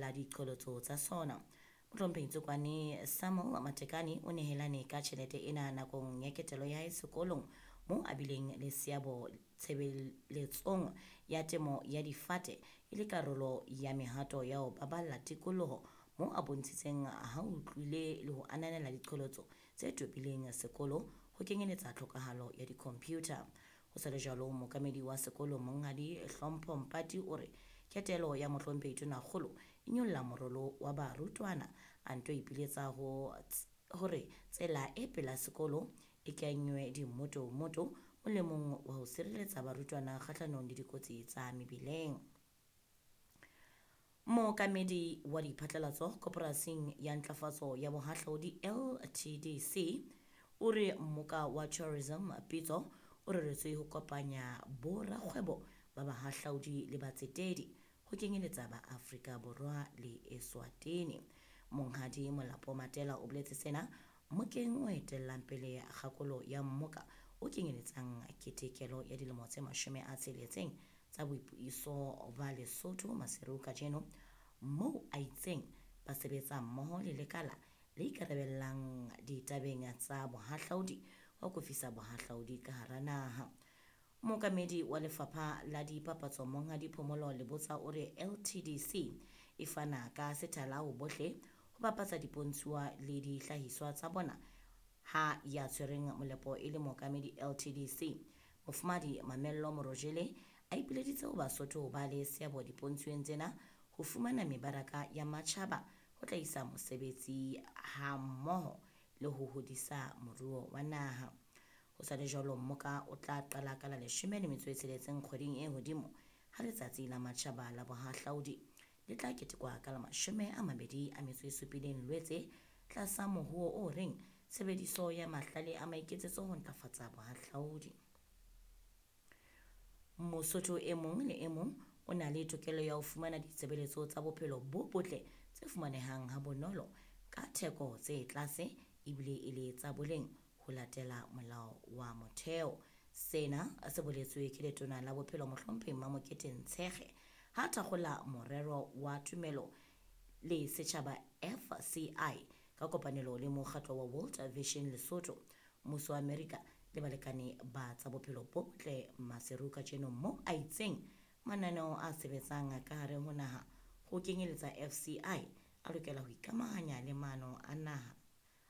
la diqholotso tsa sona. Mohlomphehi Tsokwane Samuel Matekane o nehelane ka tjhelete ena nakong ya ketelo ya hae sekolong moo a bileng le seabo tshebeletsong ya temo ya difate e le karolo ya mehato ya ho baballa tikoloho moo a bontshitseng ha utlwile le ho ananela diqholotso tse tobileng sekolo ho kenyeletsa tlhokahalo ya di-computer. Ho sa le jwalo, mookamedi wa sekolo Monghadi Hlompho Mpati o re ketelo ya mohlomphehi Tonakgolo e nyolla morolo wa barutwana, a nto ipiletsa ho hore tsela e pela sekolo e kenywe dimmotomoto molemong wa ho sireletsa barutwana kgahlanong le dikotsi tsa mebileng. Mookamedi wa diphatlalatso koporasing ya ntlafatso ya bohahlaudi LTDC o re mmoka wa tourism pitso o reretswe ho kopanya borakgwebo ba bahahlaudi le batsetedi ho kenyeletsa ba Afrika Borwa le Eswatini. Monghadi Molapo Matela o boletse sena mmokeng o etellang pele kgakolo ya mmoka o kenyeletsang ketekelo ya dilemo tse 60 tsa boipuso ba Lesotho Maseru kajeno, moo a itseng ba sebetsa mmoho le lekala le ikarabellang ditabeng tsa bohahlaudi ho akofisa bohahlaudi ka hara naha. Mookamedi wa lefapha la dipapatso Monghadi Phomolo Lebotsa o re LTDC e fana ka sethala ho bohle ho bapatsa dipontshuwa le dihlahiswa tsa bona ha ya tshwereng molepo e le mookamedi LTDC. Mofumahadi Mamello Morojele a ipileditse ho Basotho ba le seabo dipontshweng tsena ho fumana mebaraka ya matjhaba ho tla isa mosebetsi ha mmoho le ho hodisa moruo wa naha. Ho sa le jwalo, mmoka o tla qala ka la 16 kgweding e hodimo ha letsatsi la matjhaba la bohahlaudi le tla ketekwa ka la 27 Lwetse tlasa mohuo o reng tshebediso ya mahlale a maiketsetso ho ntlafatsa bohahlaudi. Mosotho e mong le e mong o na le tokelo ya ho fumana ditshebeletso tsa bophelo bo botle tse fumanehang ha bonolo ka theko tse tlase ebile e le tsa boleng ho latela molao wa motheo. Sena se boletswe ke letona la bophelo mohlomphehi Mamokete Ntshekge ha thakgola morero wa tumelo le setjhaba FCI ka kopanelo le mokgatlo wa World Vision Lesotho, mmuso wa Amerika le balekane ba tsa bophelo bo botle Maseru kajeno, moo a itseng mananeo a sebetsang ka hare ho naha ho kenyeletsa FCI a lokela ho ikamahanya le maano a naha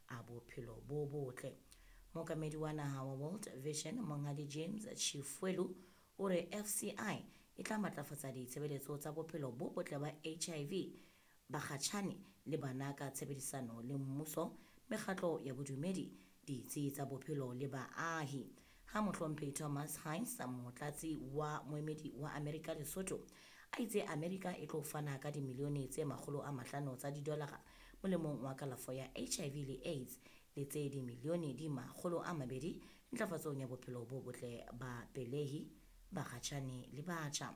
a bophelo bo botle. Mookamedi wa naha wa World Vision Monghadi James Chifuelu o re FCI e tla matlafatsa ditshebeletso tsa bophelo bo botle ba HIV bakgatjhane le bana ka tshebedisano le mmuso, mekgatlo ya bodumedi, ditsi tsa bophelo le baahi. Ha mohlomphehi Thomas Heinz, motlatsi wa moemedi wa Amerika Lesotho, a itse Amerika e tlo fana ka dimilione tse 500 tsa didolara molemong wa kalafo ya HIV le AIDS le tse dimilione di 200 ntlafatsong ya bophelo bo botle ba pelehi, bakgatjhane le batjha.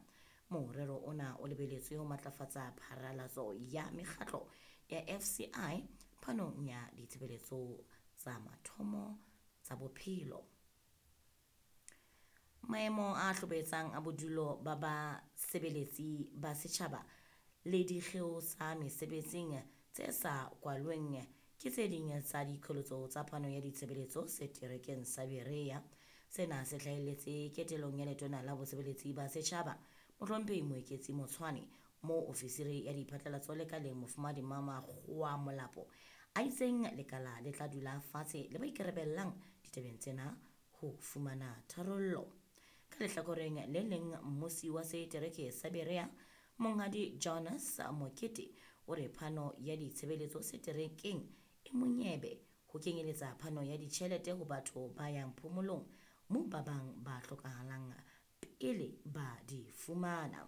Morero ona o lebeletswe ho matlafatsa pharalatso ya mekgatlo ya FCI phanong ya ditshebeletso tsa mathomo tsa bophelo. Maemo a hlobaetsang a bodulo ba basebeletsi ba setjhaba le dikgeo tsa mesebetsing tse sa kwalweng ke tse ding tsa diqholotso tsa phano ya ditshebeletso seterekeng sa Berea. Sena se hlahelletse ketelong ya letona la bosebeletsi ba setjhaba mohlomphehi Moeketsi Motshwane, moo ofisiri ya diphatlalatso lekaleng mofumahadi Mamakgowa Molapo a itseng lekala le tla dula fatshe le ba ikarabellang ditabeng tsena ho fumana tharollo. Ka lehlakoreng le leng, mmusi wa setereke sa Berea Monghadi Jonas Mokete o re phano ya ditshebeletso seterekeng e monyebe ho kenyeletsa phano ya ditjhelete ho batho ba yang phomolong moo ba bang ba hlokahalang pele ba di fumana.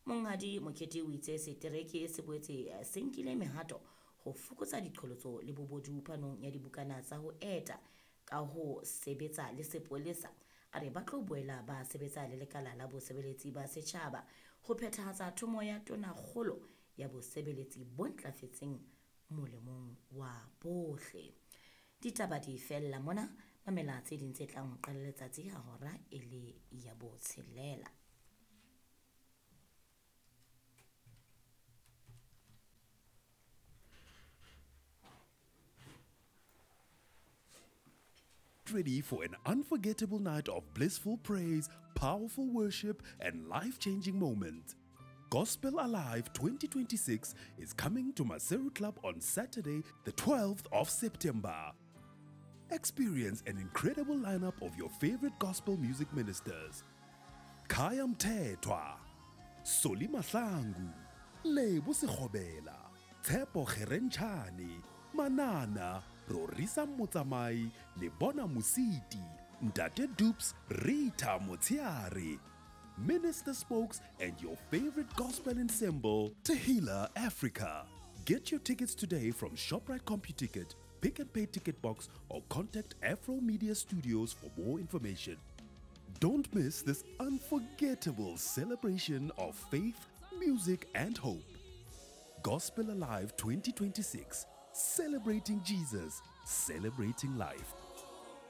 Monghadi Mokete o itse setereke se boetse se nkile mehato ho fokotsa diqholotso le bobodu phanong ya dibukana tsa ho eta ka ho sebetsa le sepolesa. A re ba tlo boela ba sebetsa le lekala la bosebeletsi ba setjhaba ho phethahatsa thomo ya tonakgolo ya bosebeletsi bo ntlafetseng molemong wa bohle. Ditaba di fella mona, mamela tse ding tse tlang ho qala letsatsi ha hora e le ya 6. ready for an unforgettable night of blissful praise, powerful worship, and life changing moments. Gospel Alive 2026 is coming to Maseru Club on Saturday, the 12th of September. Experience an incredible lineup of your favorite gospel music ministers. Khaya Mthethwa, Solly Mahlangu, Lebo Sekgobela, Tshepo Kgerentshane, Manana, Rorisang Motsamai, Lebona Mositi, Ntate Dupes, Rita Motshegare, Minister Spokes, and your favorite gospel ensemble, Tehillah Africa. Get your tickets today from ShopRite CompuTicket, Pick n Pay Ticket Box, or contact Afro Media Studios for more information. Don't miss this unforgettable celebration of faith, music, and hope. Gospel Alive 2026, celebrating Jesus, celebrating life.